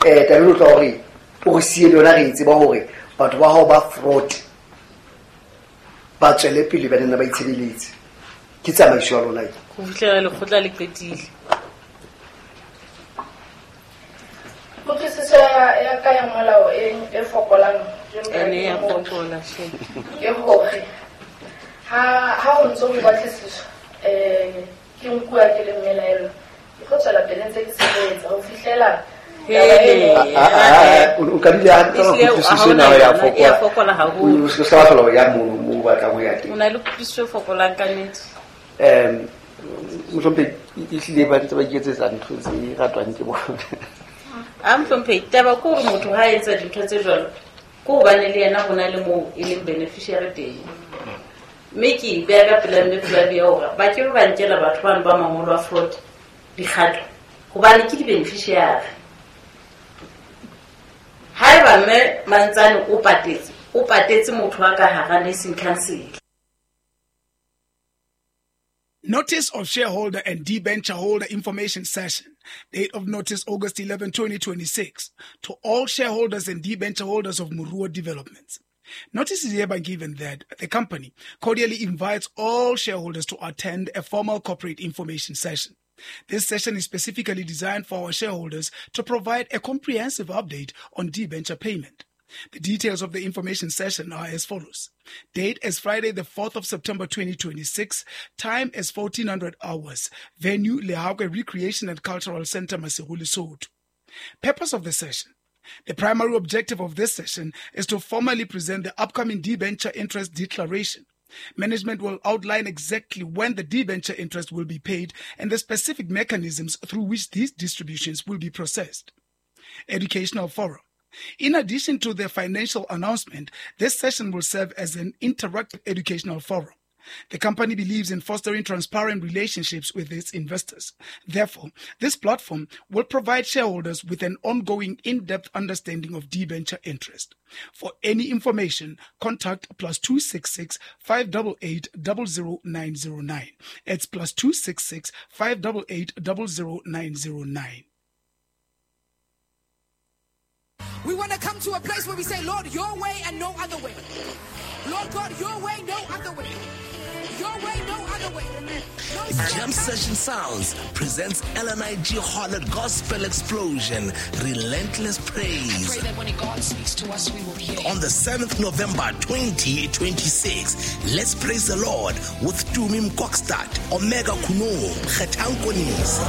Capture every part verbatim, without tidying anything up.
Um tabeng o tla gore o re siele yona re e tseba gore batho ba gago ba fraud ba tswele pele ba nna ba itshebeletse. Ke tsamaiso ya lona e. Go fitlhela lekgotla le qetile. Kutlwisiso ya ka ya molao e e fokolang jwalo ka Ene ya ke motho. fokola, shame. Ke hore ha ha ho ntso ho batlisiswa, eh, ke nkuwa ke le mmelaelwa, ke tlo tswela pele ntse ke sebetsa ho fihlela Hey, Ah, ah, ah, o ka dula hantle hore Ehlile, kutlwisiso ha hona ena ya yona, e ya fokola. fokola haholo. O se ka hlola o ya mono moo o batlang ho ya teng. O na le kutlwisiso e fokolang ka nnete. Um, mohlomphehi, ehlile ba ntse ba iketsetsa ntho tse ratwang ke bona. A mohlomphehi, taba ke hore motho ha a etsa dintho tse jwalo, ke hobane le yena ho na le moo e leng beneficiary teng. Mme ke e beha ka pela mme Flavia hore ba ke be ba nkela batho bano ba mangolo a fraud dikgato, hobane ke di-beneficiary. Haeba mme Mantsane o patetse, o patetse motho wa ka hara nursing council. Notice of shareholder and debenture holder information session. Date of notice August eleventh, twenty twenty-six. To all shareholders and debenture holders of Moruo Developments. Notice is hereby given that the company cordially invites all shareholders to attend a formal corporate information session. This session is specifically designed for our shareholders to provide a comprehensive update on debenture payment. The details of the information session are as follows. Date is Friday, the fourth of September, twenty twenty-six. Time is fourteen hundred hours. Venue, Lehakoe Recreation and Cultural Center, Maseru, Lesotho. Purpose of the session. The primary objective of this session is to formally present the upcoming debenture interest declaration. Management will outline exactly when the debenture interest will be paid and the specific mechanisms through which these distributions will be processed. Educational forum. In addition to the financial announcement, this session will serve as an interactive educational forum. The company believes in fostering transparent relationships with its investors. Therefore, this platform will provide shareholders with an ongoing in-depth understanding of debenture interest. For any information, contact plus two six six, five double eight, double zero nine zero nine. It's plus two six six, five double eight, double zero nine zero nine. We want to come to a place where we say, Lord, your way and no other way. Lord God, your way, no other way. Your way, no other way. No Jam Session Sounds presents L N I G Harlot Gospel Explosion, Relentless Praise. I pray that when God speaks to us, we will hear. On the seventh of November twenty twenty-six, let's praise the Lord with Tumi Mkokstad, Omega Kuno, Kgetang Konisi,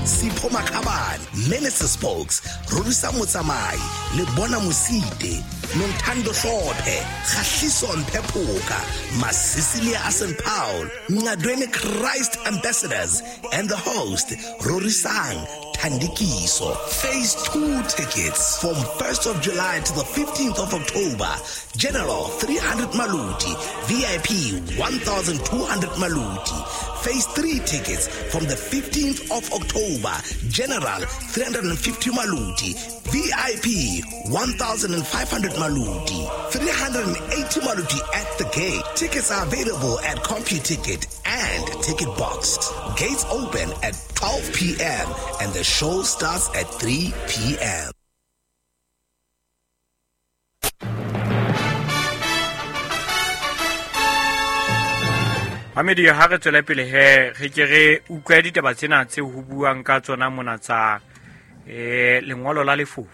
Sipho Makhabane, Minister Spokes, Rorisa Motsamai, Lebona Mosite, Nontando Hlophe, Kgahliso Mphepoka, Masisilia Asen Paul, Ngadweni Christ Ambassadors, and the host, Rorisang Thandikiso. Phase two tickets from first of July to the fifteenth of October. General three hundred Maluti, V I P one thousand two hundred Maluti. Phase three tickets from the fifteenth of October. General three hundred fifty Maluti, V I P one thousand five hundred Maluti, three hundred eighty Maluti at the gate. Tickets are available at CompuTicket and Ticket Box. Gates open at twelve P M and the show starts at three P M Mamedi, ha re tswele pele he, re ke re utlwe ditaba tsena tse ho buang ka tsona mona tsa, eh, lengolo la lefofu.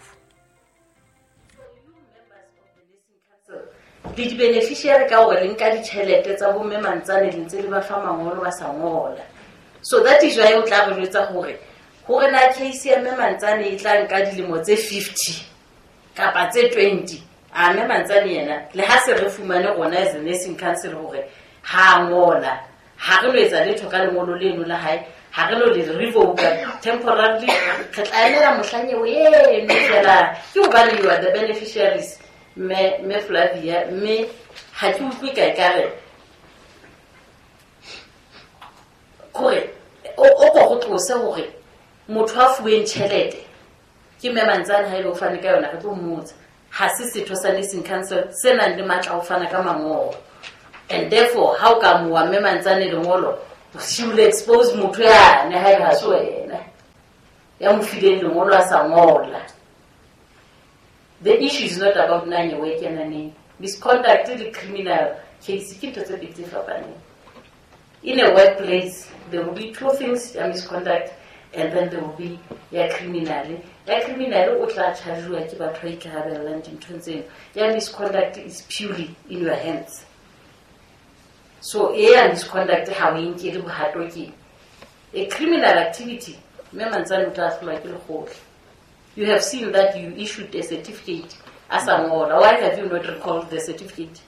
Le di-beneficiary ka hore le nka ditjhelete tsa bomme Mantsane le ntse le ba fa mangolo ba sa ngola. So that is why o tla re jwetsa hore, hore na case ya mme Mantsane e tla nka dilemo tse fifty kapa tse twenty. A mme Mantsane yena le ha se re fumane rona as a nursing council hore ha ngola, ha re no etsa letho ka lengolo leno la hae, ha re no le revoke temporarily, re tla emela mohlang eo eno fela. Ke hobane you are the beneficiaries, mme, mme Flavia, mme ha ke utlwe ka ekare kore o, o ko go tlose hore motho a fuweng tjhelete ke mme Mantsane ha e le o fane ka yona, re tlo mmotsa. Ha se setho sa nursing council se nang le matla a ho fana ka mangolo. And therefore, how come wa mme Mantsane lengolo, she will expose motho yane ha e ha se wena. Ya mo fileng lengolo a sa ngola. The issue is not about na nyewe e kena neng. Misconduct le criminal case ke ntho tse pedi tse fapaneng. In a workplace, there will be two things, ya misconduct and then there will be ya criminal. Ya criminal o tla charge-wa ke batho ba ikarabellang dinthong tseno. Ya misconduct is purely in your hands. So e ya misconduct ha o e nkele bohato ke a criminal activity. Mme Mantsane o tla ahlolwa ke lekgotla. You have seen that you issued a certificate a sa ngola. Why have you not recalled the certificate?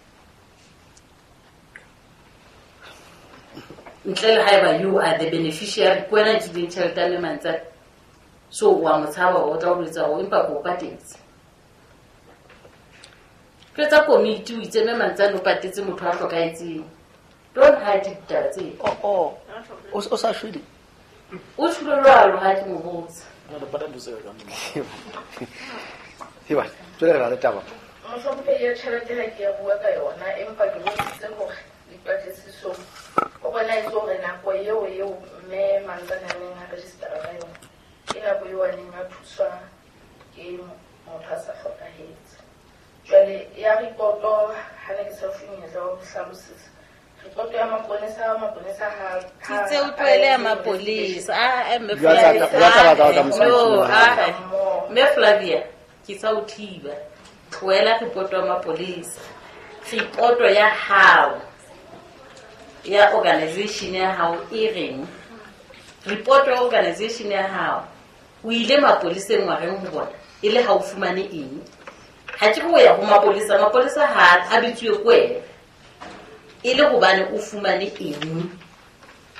Ntle le haeba you are the beneficiary, ke wena nkileng tjhelete ya mme Mantsane. So wa mo tshaba o tla o jwetsa hore empa ke o patetse. Jwetsa komiti o itse mme Mantsane o patetse motho a hlokahetseng. Don't hide ditaba tseo. Oh, oh. O, o sa shwele? O shwele jwalo ha ke mo botsa. Heba, jwale re na le taba. Mohlomphehi ya tjhelete ha ke ya bua ka yona, empa ke bontshitse hore dipatlisisong o bonahetse hore nako eo eo mme Mantsane a neng a register-a ka yona ke nako eo a neng a thuswa ke motho a sa hlokahetse. Jwale ya ripoto ha ne ke sa fuwe monyetla wa ho hlalosetsa. Ripoto ya maponesa, maponesa ha Ke tse o tlohele ya mapolesa. Ah, eh, mme Jwale tsa- Flavia. jwale tsa batla ho tla mosebetsing No, wa hao. ah, mme Flavia, ke sa o thiba. Tlohela ripoto ya mapolesa. Ripoto ya hao ya organization ya hao e reng? Ripoto ya organization ya hao o ile mapoleseng wa reng ho bona e le ha o fumane eng? Ha ke re o ya ho mapolesa, mapolesa ha a bitsuwe ke wena. E le hobane o fumane eng?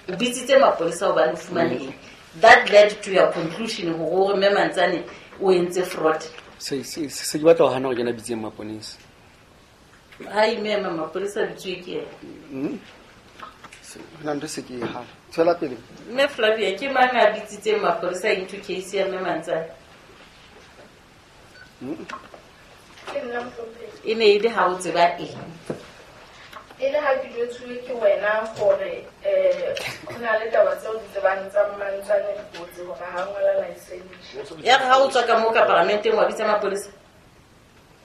O bitsitse mapolesa hobane o fumane eng? That led to your conclusion hore o re mme Mantsane o entse fraud. Se se se ke batla ho hana hore ke yena a bitseng maponesa. Ha ime mapolesa a bitsuwe ke yena. Mm. Se hona ntho se ke e hana. Tswela pele. Mme Flavia, ke mang a bitsitseng mapolesa into case ya mme Mantsane? Mm. Ke nna mohlomphehi. E ne e le ha o tseba eng? E le ha ke jwetsuwe ke wena hore, eh, ho na le taba tseo di tsebang tsa Mantsane dikotsi hore ha ngola license. Ya re ha o tswa ka moo ka paramenteng wa bitsa mapolesa.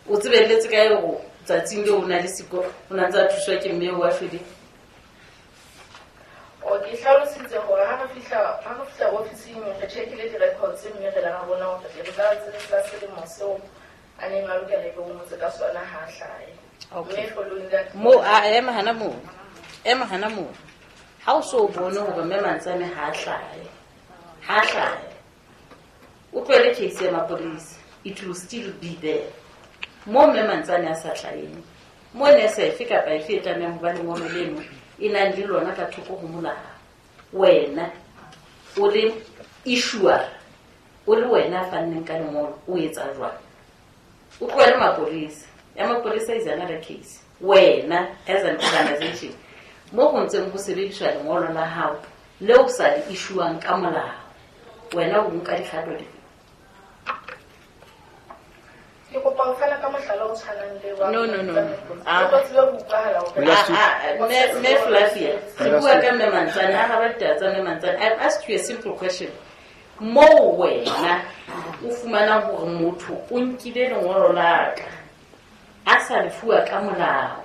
O tsebelletse kae hore tsatsing leo o na le siko, o na ntse a thuswa ke mme wa shweleng? O ke hlalositse hore ha re fihla, ha re fihla ofising re check-ile di-records mme re la ra bona hore di-results tsa selemo seo a neng a lokela ebe o ngotse ka sona ha a hlahe. Okay. Mme following that Mo, a, ema hana moo. Ema hana moo. Ha o so bone hore mme Mantsane ha a hlahe. Ha a hlahe. O tlohele case ya mapolesa. It will still be there. Mo mme Mantsane a sa hlaheng. Mo nese efe kapa efe e tlamehang ho ba lengolo leno e nang le lona ka thoko ho molao. Wena o le issuer, o le wena a fanneng ka lengolo, o etsa jwang? O tlohele mapolesa. Ya mapolesa is another case. Wena as an organization, mo ho ntseng ho sebediswa lengolo la hao leo o sa le issuang ka molao, wena o nka dikgato dife? Ke kopa ho fana ka mohlala o tshwanang le wa No, no, no, no. Ke tlo tsebe ho utlwahala hore Last week. Ah, ah, mme, mme Flavia, re bua ka mme Mantsane, araba ditaba tsa mme Mantsane. I've asked you a simple question. Moo wena o fumanang hore motho o nkile lengolo la ka a sa lefuwa ka molao,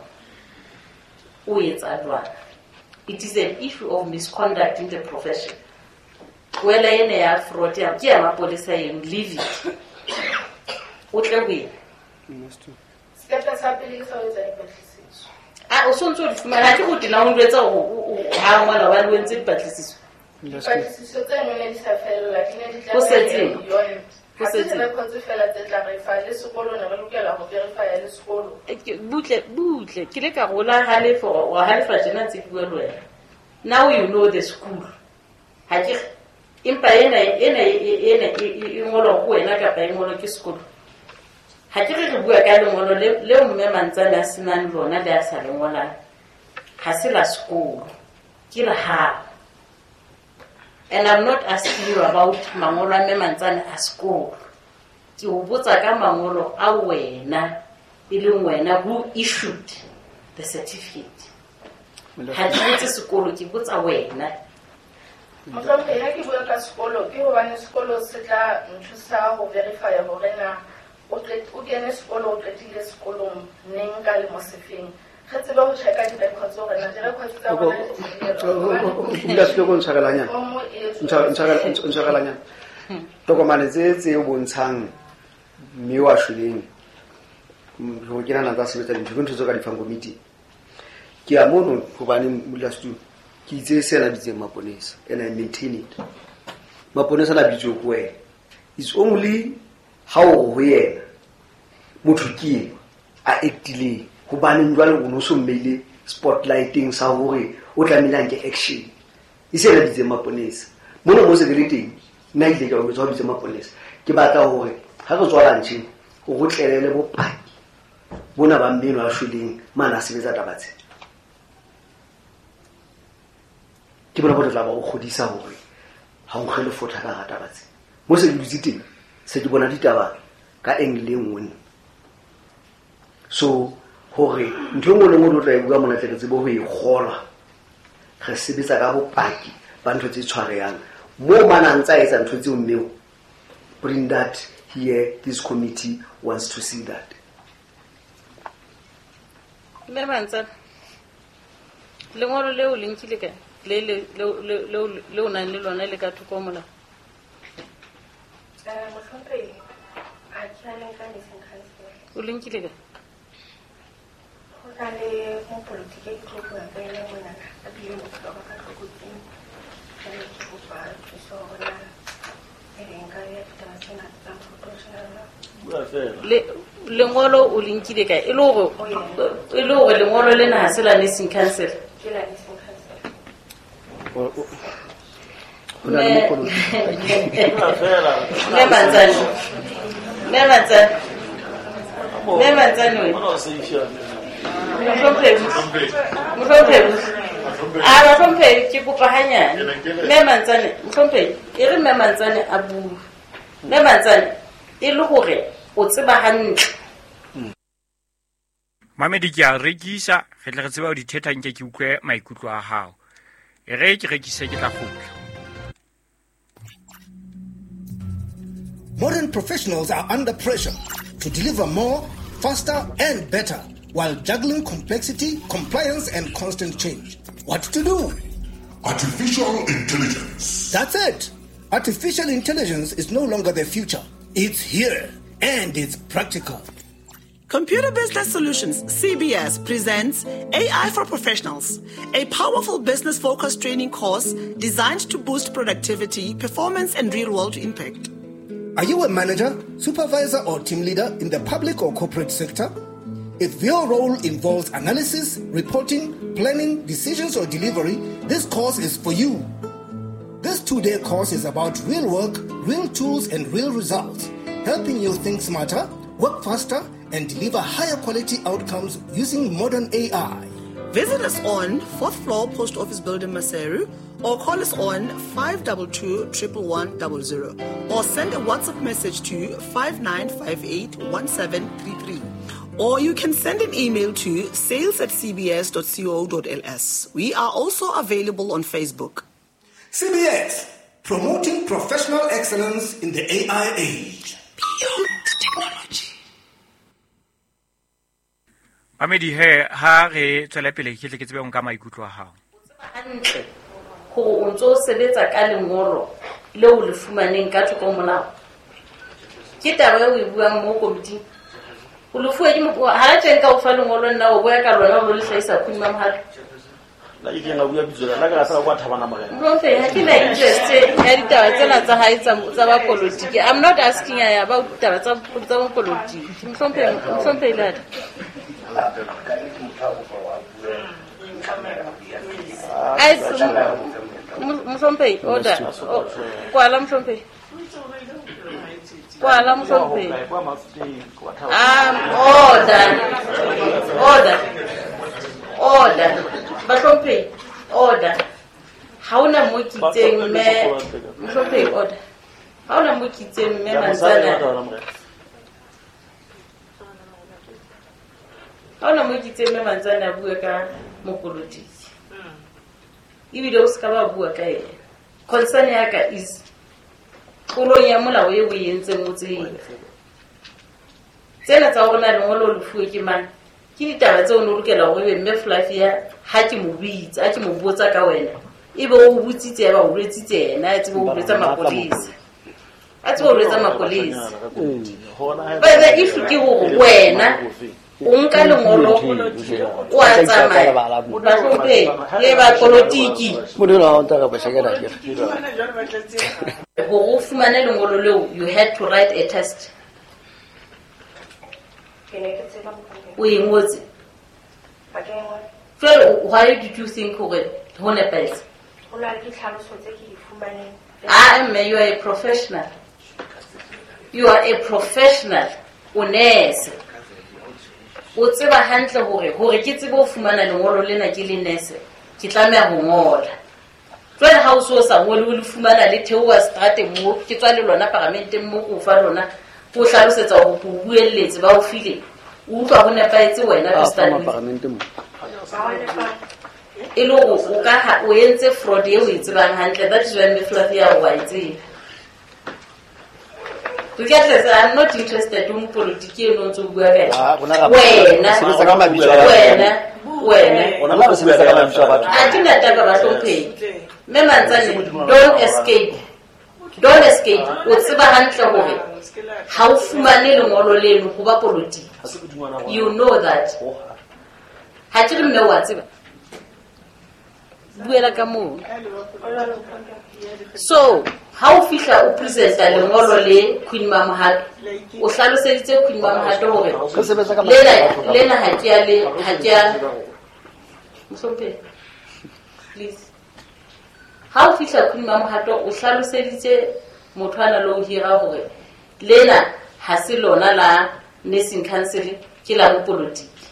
o etsa jwang? It is an issue of misconduct in the profession. Tlohela ena ya fraud ya, ke ya mapolesa eno, leave it. O tle ho ena. Setepe sa pele ke sa ho etsa dipatlisiso. Ah, o sontso o di fumana, ha ke go tena o njwetsa hore o, o, o, ha ngwana hobane o entse dipatlisiso. Dipatlisiso tseno ne di sa fella, di ne di tla Ho setseng? beyond. Ho Ha se setseng? di-records fela tse tla re fa le sekolo ne re lokela ho verify-a le sekolo. Eh, ke, butle, butle, ke le ka rola halefa, wa halefa tjena ntse ke bua le wena. Now you know the school. Ha ke re, empa ena, ena, ena, e, e, e ngolwa ho wena kapa e ngolwa ke sekolo. Ha ke re re bua ka lengolo le, leo mme Mantsane a senang lona le a sa le ngolang. Ha se la sekolo, ke la hao. And I'm not asking you about mangolo a mme Mantsane a sekolo. Ke o botsa ka mangolo a wena, e leng wena who issued the certificate. Ha ke botse sekolo, ke botsa wena. Mohlomphei ha ke bua ka sekolo ke hobane sekolo se tla nthusa ho verify hore na o o kene sekolo o qetile sekolong neng ka lemo sefeng. Re tsebe ho checka di-records hore na di-records tsa rona di se ko ntshwarelanyana ntshwarelanyana tokomane tse tse o bontshang mme wa shweleng ho kena na tsa sebetsa dintho ke ntho tse ka di fang komiti. Ke a mono hobane modulasetulo ke itse sena bitseng maponesa and I maintain it. Maponesa na bitswe ko wena. It's only ha o ho yena motho ke eo a actileng hobane jwale o no so mmeile spotlighting sa hore o tlamehile a nke action. E se na bitseng maponesa. Mono mo se ke le teng nna ile ka o bitswa bitseng maponesa. Ke batla hore ha re tswa lunch o go tlelele bopaki bona ba mmeno a shweleng mana a sebetsa taba tse. Ke bona bo tla ba o kgodisa hore ha o nkge le fotha ka taba tse. Mo se ke dutse teng se ke bona ditaba ka angle e nngwe. So hore ntho e nngwe le nngwe o tla e bua mona tle re tsebe ho e kgolwa. Re sebetsa ka bopaki ba ntho tse tshwarehang. Mo mana a ntsa etsa ntho tseo mmeo, bring that here, this committee wants to see that. Mme Mantsana, lengolo leo le nkile kae? Le le le le o nang le lona le ka thoko molao? Eh, mohlomphei, ha ke a le nka nursing council. O le nkile kae? Ho na le mopolotiki e ke tlo bua ka ena monana, a bile bophelo ba ka tlokotsing. Jwale ke kopa thuso hore na ebe nka beha ditaba tsena tsa professional. Le lengolo o le nkile kae? E le hore e le hore lengolo lena ha se la nursing council. Ke la nursing council. Ho na le mopolotiki. Mme Mantsana. Mme Mantsana. Mme Mantsana we. Mohlomphei. Mohlomphei. A mohlomphei ke kopa hanyane. Mme Mantsana, mohlomphei, e re Mme Mantsana a bue. Mme Mantsana e le hore o tseba hantle. Mamedi ke a rekisa, re tle re tsebe ho di thetha nke ke utlwe maikutlo a hao. E re ke rekise ke tla kgutla. Modern professionals are under pressure to deliver more, faster and better while juggling complexity, compliance and constant change. What to do? Artificial intelligence. That's it. Artificial intelligence is no longer the future. It's here and it's practical. Computer Business Solutions, C B S, presents A I for Professionals, a powerful business-focused training course designed to boost productivity, performance, and real-world impact. Are you a manager, supervisor, or team leader in the public or corporate sector? If your role involves analysis, reporting, planning, decisions, or delivery, this course is for you. This two-day course is about real work, real tools, and real results, helping you think smarter, work faster, and deliver higher quality outcomes using modern A I. Visit us on fourth floor Post Office Building, Maseru, or call us on five two two, one one one zero or send a WhatsApp message to five nine five eight, one seven three three. Or you can send an email to sales at c b s dot co dot l s. We are also available on Facebook. C B S, promoting professional excellence in the A I age. Beyond technology. Mamedi he ha re tswele pele ke tle ke tsebe nka maikutlo a hao. O tseba hantle hore o ntso sebetsa ka lengolo leo le fumaneng ka thoko molao. Ke taba eo o e buang mo komiting. O le fuwe ke mo ha teng ka o fa lengolo nna o boya ka lona o le hlahisa khuni ma mohato. La ke nga bua bitso la ka sa kwa thabana morena. Mhlomphei ha ke na interest ya ditaba tsena tsa hae tsa tsa ba politiki. I'm not asking ya about ditaba tsa tsa politiki. Mhlomphei mhlomphei lada. Ai mhlomphei order. Kwala mhlomphei. Kwala mhlomphei. Um order. Order. Order. Bahlomphei order. Ha ona mo kitseng mme mhlomphei order. Ha ona mo kitseng mme Mantsana. Ha ona mo kitseng mme Mantsana a bua ka mopolotiki. Ebile o ska ba bua ka yena. Concern ya ka is tlolong ya molao e o e entseng o tsebe. Tsena tsa hore na lengolo o le fuwe ke mang, ke ditaba tseo o ne o lokela hore ebe mme Flavia ha ke mo bitsa, ha ke mo botsa ka wena, ebe o botsitse ya ba o boletsitse yena, a tsebe ho boletse mapolesa. A tsebe ho boletse mapolesa. But the issue ke hore wena o nka lengolo o a tsamaya, bahlomphehi le ba polotiki. Hore o fumane lengolo leo, you had to write a test. O e ngotse. Jwale why did you think hore ho nepahetse? Ho na le ditlhaloso tse ke di fumaneng. Ah, mme, you are a professional. You are a professional. O nurse. O tseba hantle hore hore ke tsebe ho fumana lengolo lena ke le nurse, ke tlameha ho ngola. Jwale ha o so sa ngole o le fumana le theoha strateng mo, ke tswa le lona paramenteng mo ko fa lona, ko hlalosetsa hore ko buelletse ba o file. O utlwa ho nepahetse wena to start with. E le hore o ka ha o entse fraud eo o e tsebang hantle, that is why mme Flavia o a e tseba. Regardless, I'm not interested in politics eno ntse o bua ka yona. Wena, wena, wena. Ha ke na taba bahlomphehi. Mme Mantsane, don't escape. Don't escape. O tseba hantle hore ha o fumane lengolo leno ho ba politiki. You know that. Ha ke re mme wa tseba. Buela ka moo. So, ha o fihla o presenta lengolo le Queen Mamohato, o hlaloseditse Queen Mamohato hore lena lena ha ke a le ha ke a Mohlomphehi, please. Ha o fihla Queen Mamohato o hlaloseditse motho ana le o hira hore lena ha se lona la nursing council, ke la bopolotiki.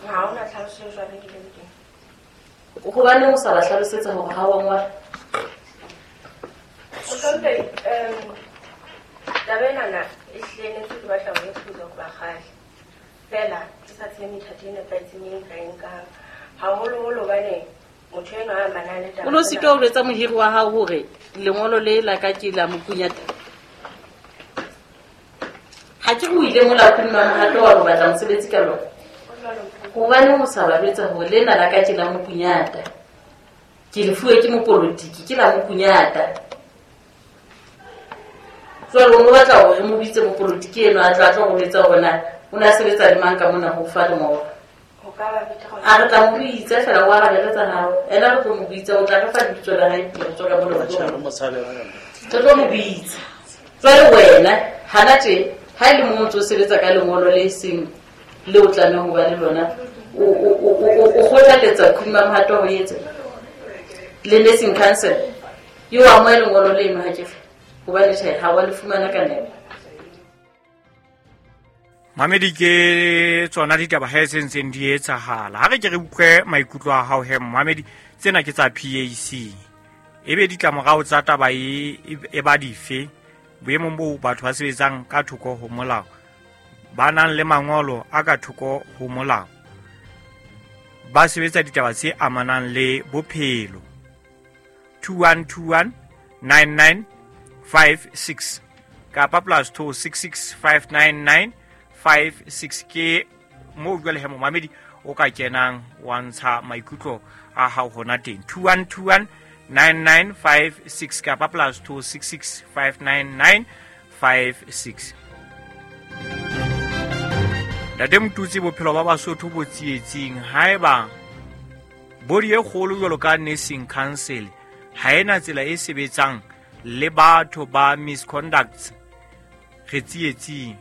Ha hona tlhaloso e jwalo ke le teng. Hobane o sa ba hlalosetsa hore ha wa ngola. Mohlomphehi, um taba enana e hlile ne ntse ke batla ho e thusa hoba kgale. Feela ke sa tsebe methati e nepahetseng e nka e nkang. Haholoholo hobane motho enwa a amanang le taba. O no sitwa ho jwetsa mohiri wa hao hore lengolo le la ka ke la mokunyata. Ha ke re o ile mola Queen Mamohato wa ho batla mosebetsi ka lona. Hobane o sa ba jwetsa hore lena la ka ke la mokunyata. Ke le fuwe ke mopolotiki, ke la mokunyata. Jwale o no batla hore mo bitse mopolotiki eno a tla tla go jwetsa hore na o ne a sebetsa le mang ka mona ho fa lengolo. A re tla mo bitsa fela o arabele tsa hao. Ena re tlo mo bitsa, o tla re fa lebitso la hae pele re tswa ka mona. Re tlo mo bitsa. Jwale wena hana tje ha e le mo ntse o sebetsa ka lengolo le seng le o tlamehang ho ba le lona, o o o o kgothaletsa Queen Mamohato ho etsa le nursing council. Yo amohele lengolo leno ha ke fe hobane tjhe ha wa le fumana ka nepo. Mamedi, ke tsona ditaba ha se ntseng di etsahala. Ha re ke re utlwe maikutlo a hao he Mamedi, tsena ke tsa P A C. Ebe ditlamorao tsa taba e e ba dife boemong bo batho ba sebetsang ka thoko ho molao, ba nang le mangolo a ka thoko ho molao, ba sebetsa ditaba tse amanang le bophelo. two one two one nine nine five six kapa plus two six six five nine nine five six ke mo jwale he momamedi o ka kenang wa ntsha maikutlo a hao hona teng. Two one two one nine nine five six kapa plus two six six five nine nine five six. Ntate Motutsi, bophelo ba Basotho bo tsietsing. Haeba body e kgolo jwalo ka nursing council ha ena tsela e sebetsang le batho ba misconducts, re tsietsing.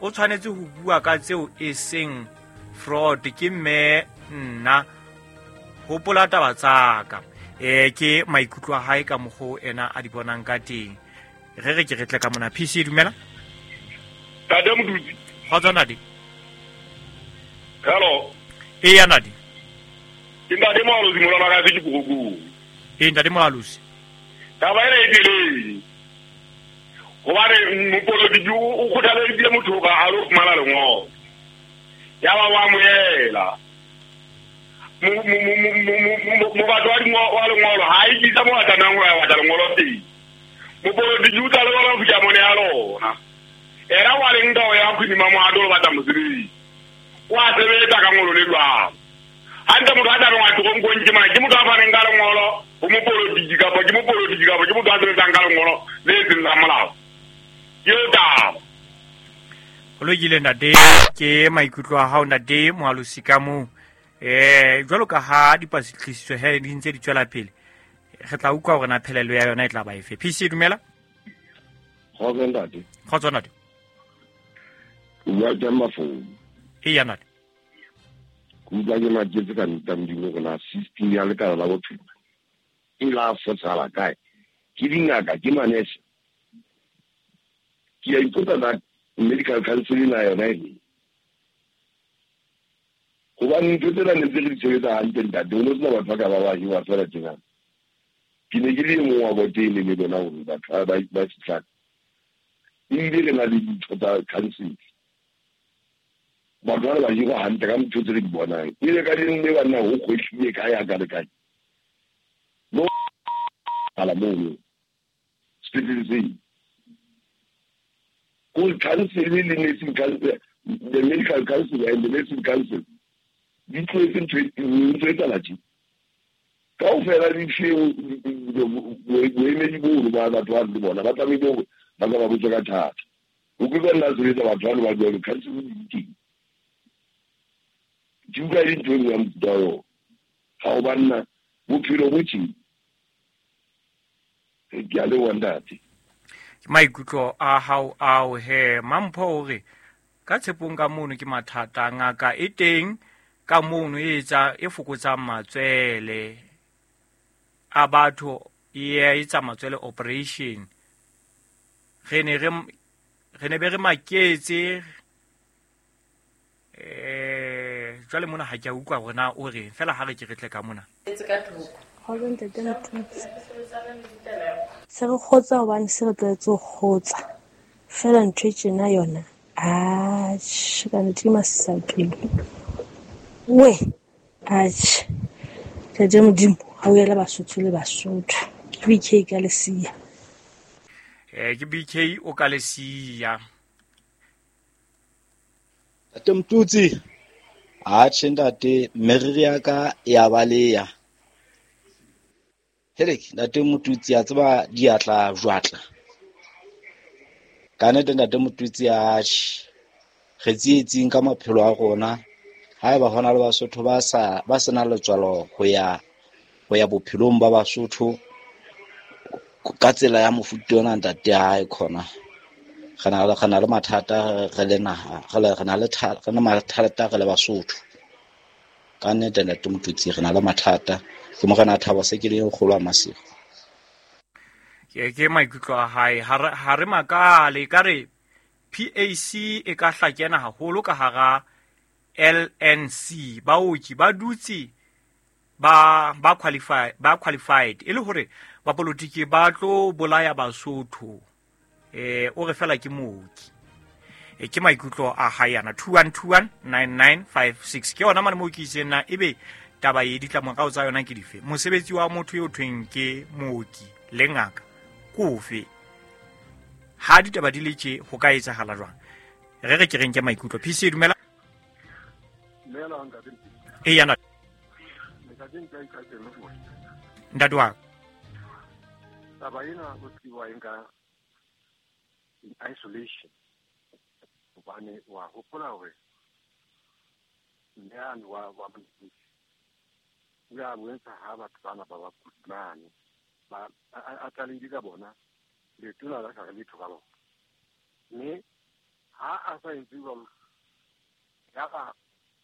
O tshwanetse ho bua ka tseo e seng fraud. Ke mme nna hopola taba tsaka. Eh ke maikutlo a hae ka mokgo ena a di bonang ka teng. Re re ke re tle ka mona. P C, dumela. Ntate Motutsi. Kgotsa Nadi. Hello. Eya Nadi. Ke ntate Moalosi molwana ka se ke Pokokong. Ee ntate Moalosi. Taba ena e telele. Hobane mopolotiki o kgothaleditse motho ka a lo fumana lengolo. Ya ba wa amohela. Mobatho wa lengolo ha e tlisa mo a tlamehang ho ya batla lengolo teng. Mopolotiki o tla lebala ho fihla mone ya lona. Era wa leng ka ho ya hodima mohato o batla mosebetsi. O a sebetsa ka ngolo le jwalo. Hantle motho a tlamehang a toronkong ke mang? Ke motho a faneng ka lengolo ho mopolotiki kapa ke mopolotiki kapa ke motho a sebetsang ka lengolo le seng la molao. Ke eo taba. Ho lokile ntate, ke maikutlo a hao ntate Moalosi ka moo. Eh jwalo ka ha dipatlisiso he di ntse di tswela pele, re tla utlwa hore na phelelo ya yona e tla ba efe. P C dumela. Kgotso ntate. Kgotso ntate. O bua ke Mafou. Eya ntate. Ke utlwa ke maketse ka nnete Modimo hore na system ya lekala la bophelo e la fosahala kae. Ke dingaka, ke manese. Ke a ipotsa na medical council na yona e hobane ntho tsena ne ntse re di sebetsa hantle ntate, ho no sena batho ba ka ba ba jewa feela tjena. Ke ne ke le e mong wa bote ne le bona hore batho ba ba fihlang. Ebile re na le ditho tsa council. Batho bana ba jewa hantle ka ntho tse re di bonang. Ebile ka leng le banna ho kgwehlile kae ha ka le kae. No ala mono. Sepetlele seo. Ko council le nursing council, the medical council and the nursing council di tlohetse ntho ntho e tsala tje. Kaofela di fie boemedi bono ba batho ba le bona ba tlamehile hore ba ka ba botse ka thata. O ke nna sebetsa batho ba le ba jwalo council di teng. Ke utlwa e le ntho e nngwe ya mofuta wa yona. Ha o banna bophelo bo tje. Ke a leboha ntate. Ke maikutlo a hao ao he Mampho o re ka tshepong ka mono ke mathata, ngaka e teng ka mono e etsa e fokotsang matswele a batho, e etsa matswele operation. Re ne re re ne be re maketse eh jwale mona ha ke a utlwa hore na o reng fela ha re ke re tle ka mona. Kgotso ntate Motutsi. Se re kgotsa hobane se re tlwaetse ho kgotsa. Feela ntho e tjena yona, atjhe, ka nnete ke masisapelo. We, atjhe, ntate Modimo ha o ela Basotho le Basotho. Ke B K ka lesiya. Eh ke B K o ka lesiya. Ntate Motutsi, atjhe ntate, meriri ya ka ya baleya. Helek, ntate Motutsi a tseba diatla jwatla. Ka nnete ntate Motutsi atjhe, re tsietsing ka maphelo a rona. Haeba hona le Basotho ba sa ba sena letswalo ho ya ho ya bophelong ba Basotho ka tsela ya mofuta ona ntate hae khona. Re na le re na le mathata re le naha, re le re na le re na mathata re le Basotho. Ka nnete ntate Motutsi re na le mathata. Ke morena Thabo se ke le kgolo a Masego. Ke ke maikutlo a hae ha re makale ka re P A C e ka hlakena haholo ka hara L N C. Baoki ba dutse ba ba qualify ba qualified e le hore ba politiki ba tlo bolaya Basotho. Eh o re fela ke mooki. E ke maikutlo a hae ana two one two one nine nine five six ke yona mane mooki tsena ebe taba e ditlamorao tsa yona ke dife. Mosebetsi wa motho yo thweng ke mooki le ngaka kofe ha ditaba di le tje ho ka etsahala jwang? Re re ke reng ke maikutlo. P C dumela. Dumela ntate. E yana. Ntate wa. Taba ena ho tliwa eng ka in isolation. Hobane wa hopola hore mme ane wa wa o ile a bontsha ha batho bana ba ba mane ba a tlalehile ka bona letona la sa re letho ka bona. Mme ha a sa entse jwalo, yaba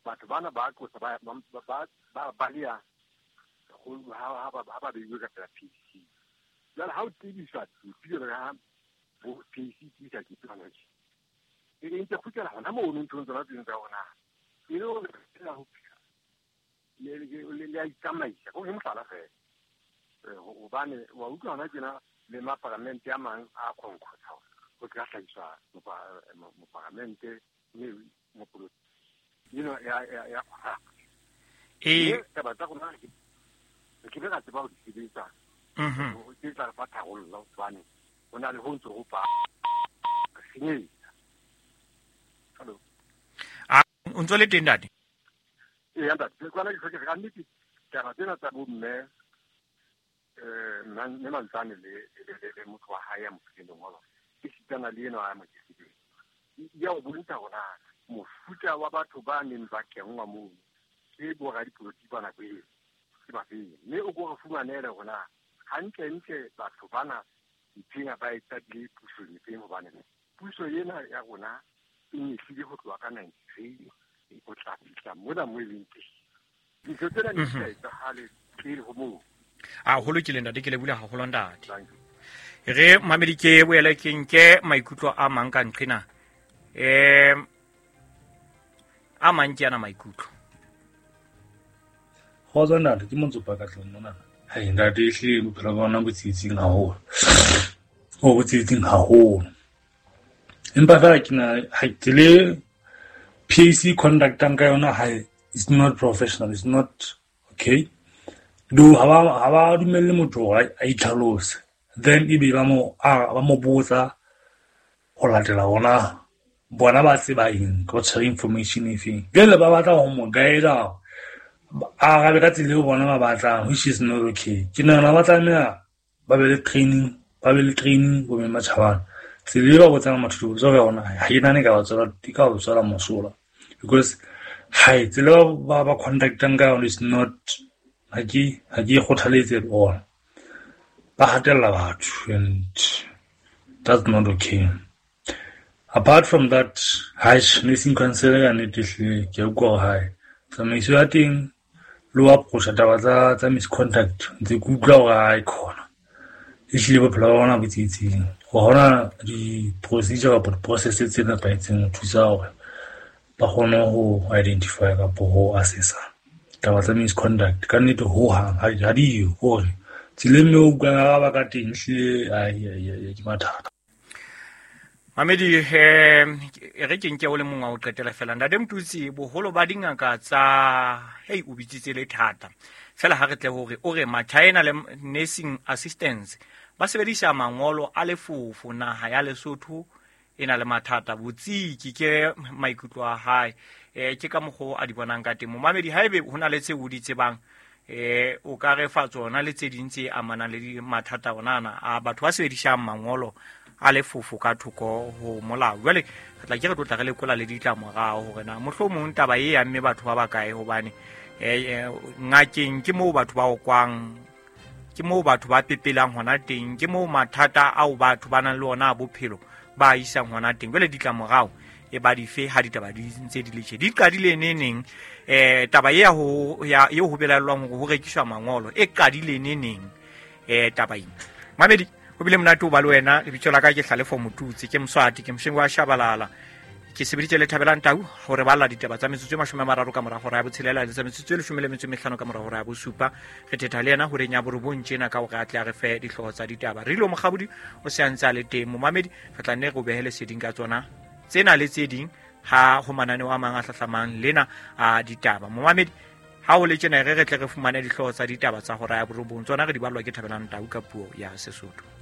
batho bana ba qosa ba ba ba baleha ha ba ha ba beiwe ka pela P C. Jwale ha o tebiswa pele ha bo P C tebisa ke tsona tje. E ntse kgutlela hona mono nthong tsona tseno tsa rona. E le hore re ho phela. Le le le a itsamaisa ko ke mohlala fela. Hobane wa utlwa hona tjena le maparamente a mang a khonkotsa ho tla hlahiswa moparamente mme mopolotiki. You know, ya ya ya. E taba tsa rona re ke be ra tseba ho di sebetsa. Mhm. Ke tla re fa tharollo hobane ho na le ho ntso ho pa senyetsa. Hello. A o ntso le teng ntate? Ee, ntate, ke kwana ke hloke ka nnete taba tsena tsa bo mme eh mme Mantsane le le motho wa hae ya mo fileng lengolo ke sitana le ena a mo tlisitseng. Ya o bontsha hore na mofuta wa batho ba neng ba kenngwa moo ke bo radipolotiki ba nako eo ke ba feng, mme o ko re fumanele hore na hantlentle batho bana ntheng ba e qadile pusong efeng, hobane puso ena ya rona e nyehlile ho tloha ka ninety-three ho tla fihla mona mo e leng teng. Dintho tsena di sa etsahale pele ho moo. A ho lokile ntate, ke lebohile haholo ntate. Re mamedi ke boele ke nke maikutlo a mang ka nqena. Eh a mang ke ana maikutlo. Kgotso ntate, ke Montsopa ka tlung mona. Hai ntate, ehlile bophelo ba rona bo tsietsing haholo. O bo tsietsing haholo. Empa fela ke na ha ke le P A C conductang ka yona ha it's not professional, it's not okay. Do ha ba ha ba dumelle motho hore a itlhalose. Then ebe ba mo a ba mo botsa ho latela ona bona ba tseba eng, ka tshwere information efeng. Jwale ba batla ho mo guide a arabe ka tsela eo bona ba batlang, which is not okay. Ke nahana ba tlameha ba be le training, ba be le training bo mme matjhabana. Tsela e ba botsang batho dipotso ka yona ha ke nahane e ka ba tswela e ka ba tswela mosola, because hai tsela ba ba conductang ka yona is not ha ke ha ke e kgothaletse at all. Ba hatella batho and that's not okay. Apart from that, hai nursing council ka nnete ehlile ke a utlwa hore hai tsamaiso ya teng le ho approach-a taba tsa tsa misconduct ntse ke utlwa hore hai khona ehlile bophelo ba bona bo tsietsing. Ho hona di-procedure kapa di-process tse nepahetseng ho thusa hore ba kgone ho identify kapa ho assessa taba tsa misconduct. Ka nnete hohang ha di yo, hore tseleng eo o utlwang ba ka teng ehlile ai ke mathata. Mamedi eh re ke nke o le mong wa ho qetela fela. Ntate Mtutsi, boholo ba dingaka tsa hei o bitsitse le thata fela ha re tle hore o re Machina le nursing assistants ba sebedisa mangolo a lefofo naha ya Lesotho e na le mathata. Botsiki ke maikutlo a hae, eh ke ka mokgo a di bonang ka teng. Momamedi haebe ho na le tse o di tsebang eh o ka re fa tsona le tse ding tse amanang le mathata ona ana a batho ba sebedisang mangolo a lefofo ka thoko ho molao. Jwale re tla ke re tlotla re lekola le ditlamorao hore na mohlomong taba e amme batho ba bakae, hobane eh ngakeng ke moo batho ba okwang, ke moo batho ba pepelang hona teng, ke moo mathata ao batho ba nang le ona a bophelo ba isang hona teng. Jwale ditlamorao e ba dife ha ditaba di ntse di le tje di qadile neneng? Eh taba ya ho ya eo ho belaellwang hore ho rekiswa mangolo e qadile neneng? Eh taba ena mamedi ho bile monate ho ba le wena. Lebitso la ka ke Hlalefo Motutsi, ke Moswati, ke Moshengi wa Shabalala. Ke sebeditse le Thabelang Tau hore ba lla ditaba tsa metsotso e mashome a mararo ka mora hora ya botshelela le tsa metsotso e leshome le metso e mehlano ka mora hora ya bosupa. Re thetha le yena horeng ya borobong tjena ka hore a tle a re fe dihlooho tsa ditaba. Rilo Mokgabodi o se a ntse a le teng. Momamedi re tla nne re o behele seding ka tsona tsena le tse ding ha ho mananeo a mang a hlahlamang lena a ditaba. Momamedi ha o le tjena re re tle re fumane dihlooho tsa ditaba tsa hora ya borobong, tsona re di ballwa ke Thabelang Tau ka puo ya Sesotho.